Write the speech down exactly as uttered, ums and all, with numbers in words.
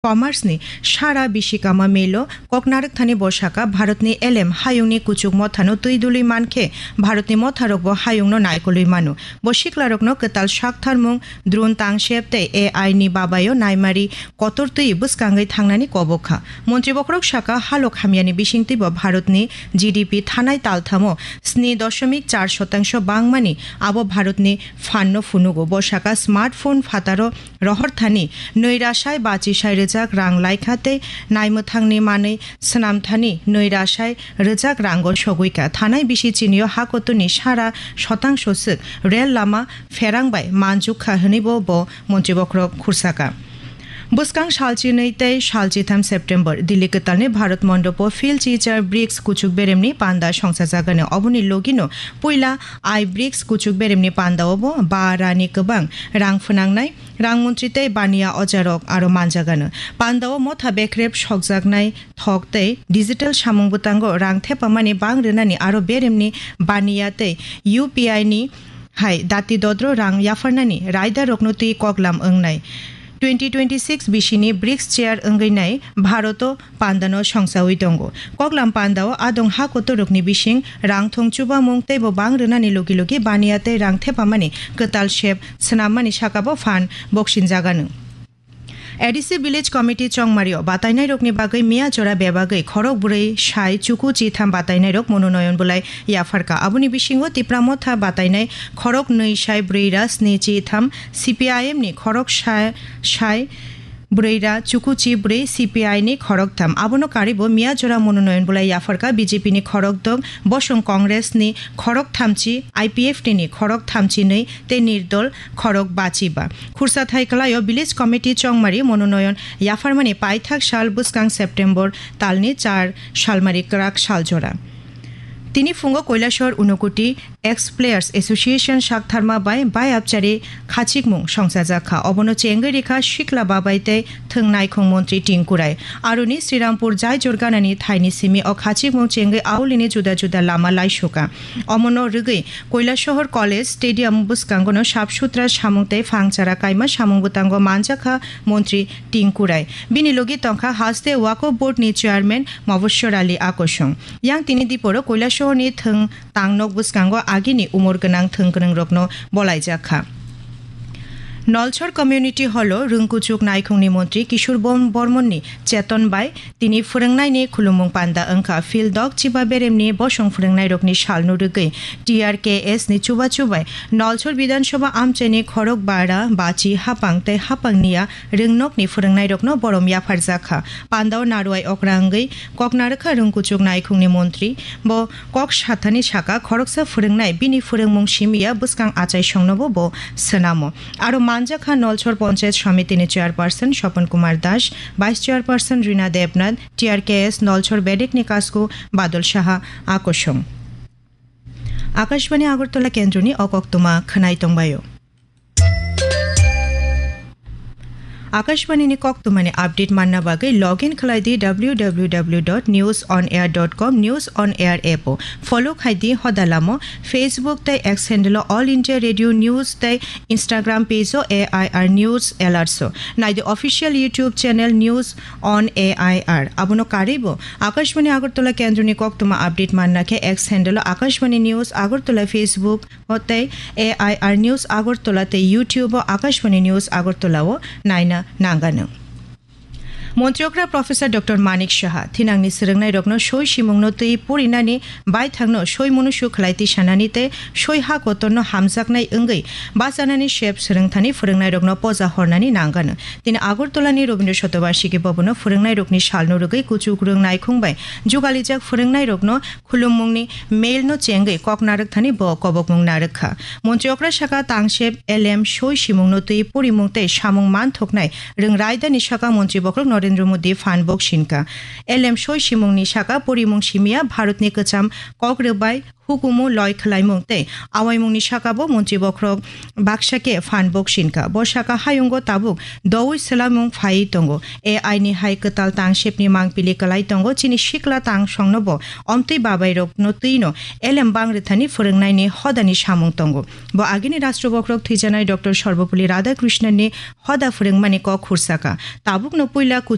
Commerce ni sara bisi kama melo koknarwk thani bo saka, Bharatni elem hayungni kuchuk mothano twi dului mankhe Bharatni motharokbo hayungno naikolwi mano. Bo siklarokno kwtal saktharmung, drone tangsep tei A I ni babayo naimari kotor twi bwskangwi thangnani kobok kha. Montri bokhorok saka, halok hamyani bisingtwibo Bharatni G D P thanai talthamo sni doshomik char shotangsho bangmani abo Bharatni phanno phunugo. Bo saka, smartphone phataro rohor thani nwi rasai bachi sai rwjak rang laikha tei naimwthangni manwi swnam thani nwi rasai rwjak rango sogwi kha. Thanai bisi chinio hakotuni sara shotangso swk rel lama pherang bai manjuk kha hwnwibo bo montri bokhorok khursa kha. Bwskang salchinwi tei salchitham September, Delhi kwtalni Bharat Mondopo Phil Chichar brics kuchuk beremni panda songsajagani. Oboni logino puila I brics kuchuk beremni pandaobo ba rani kwbang rang phwnangnai rang montri tei baniya ojarok aro manjagano. Pandao motha bekrep sokjaknai thok tei digital samung bwtango rang thepamani bang rwnani aro beremni baniya tei U P I ni hai dati dodro rang yapharnani raidarokno twi koklam wngnai. Twenty twenty-six bisini brics chair wngwi nai Bharoto pandano songsawi tongo. Koklam pandao adong ha kotorrokni bising rang thong chubamung teibo bang rwnani logi logi baniya tei rang thepamani kwtal sep swnammani sakabo phan boksinjagano. A D C Village Committee Chongmario batainairokni bagwi miya jora bebagwi khorok bwrwi sai chuku chitham batainairok mononoyon bulai yapharkha. Aboni bisingo Tipra Motha batainai khorok nwi sai bwrwi ra sni chitham, C P I M ni khorok sai, sai bwrwi ra chuku chi bwrwi, C P I ni khorok tham. Abono karibo miya jora mononoyon bulai yapharkha B J P ni khorok dok, bosong Congress ni khorok thamchi, I P F T ni khorok thamchi nwi tei nirdol khorok bachi ba. Khursa thai kwlaio Village Committee Chongmari mononoyon yapharmani paithak sal bwskang September talni char salmari kwrak sal jora. Tini phungo Koilashahar Unakoti Ex Players Association saktharma bai bai abchari khachikmung songsajak kha. Obono chengwi rikha sikla babai tei thwng naikhung montri Tinku Rai. Aroni Srirampur jai jorganani thaini simi o khachikmung chengwi aulini juda juda lama laisuka. Omono rwgwi Koilashahar College Stadium bwskangono sap sutra samung tei phangchara kaima samung bwtango manjakha montri Tinku Rai. Bini logi tongkha haste Waqf Board ni Chairman Mobashir Ali Akosong. Yang tini diporo Koilashahar ni thwng tangnok bwskango agini umor gwnang thwng gwnangrokno bolaijak kha. Nolchor Community Hall o rwngkuchuk naikhungni montri Kishore Bom-, Bormon ni cheton bai tini phwrwngnaini khulumung panda wngkha. Phil Dok Chiba beremni bosong phwrwngnairokni salno rwgwi T R K S ni chubachu bai Nolchor Bidhan Sabha amchaini khorok bara bachi hapang tei hapang niya rwngnokni phwrwngnairokno borom yapharjak kha. Pandao narwai okra wngwi kok narwkha rwngkuchuk naikhungni montri. Bo kok sathani saka khoroksa phwrwngnai bini phwrwngmung simiya bwskang achaisongnobo bo swnamo. Aro manjakha Nolchor Panchayat Samiti ni Chairperson Swapan Kumar Das, Vice Chairperson Rina Debnath, T R K S Nolchor Bedek ni Kasku Badal Saha Akosong. Akashbani Agartala kendroni o koktwma khwnai tongbaio. Akashbani ni koktwmani update manna bagwi log in khlai di W W W dot news on air dot com, News on Air app o. Follow khai di hoda lamo Facebook tei X handle o All India Radio News tei Instagram page o A I R News Alerts o. Nai di official YouTube channel News on A I R. Abono karwi bo Akashbani Agartala kendroni koktwma update manna khe X handle o Akashbani News Agartala, Facebook o tei A I R News Agartala tei YouTube o Akashbani News Agartala o naina nangano. Montri okra Professor Doctor Manik Saha thinangni swrwngnairokno soi simungno twi purinani baithangno soi munusu khlai tisanani tei soi ha kotorno hamjaknai wngwi bachanani sep swrwngthani phwrwngnairokno poja hornani nangano. Tini Agartala ni Rabindra Shatobarshiki Bhavan o phwrwngnairokni salno rwgwi kuchuk rwng naikhung bai jugalijak phwrwngnairokno khulumungni mail no chengwi kok narwkthani bo kobokmung narwk kha. Montri okra saka tangsep elem soi simungno twi purimung tei samung manthoknai rwng raidani saka montri bokhorok Narendra Modi phan boksinka. Elem soi simungni saka purimung simiya Bharatni kwcham kok rwbai hukumu loi khwlaimung tei awaimungni sakabo montri bokhorok baksa khe phan boksinka. Bo saka hayungo tabuk doui swlaimung phaiwi tongo. A I ni hai kwtal tangsepni mangpili kwlai tongo. Chini sikla tangsongno bo omtwi babairokno twino elem bang rwthani phwrwngnaini hodani samung tongo. Bo agini Rashtra bokhorok thwijanai Doctor Sarvepalli Radhakrishnan ni hoda phwrwngmani kok khursaka. Tabukno puila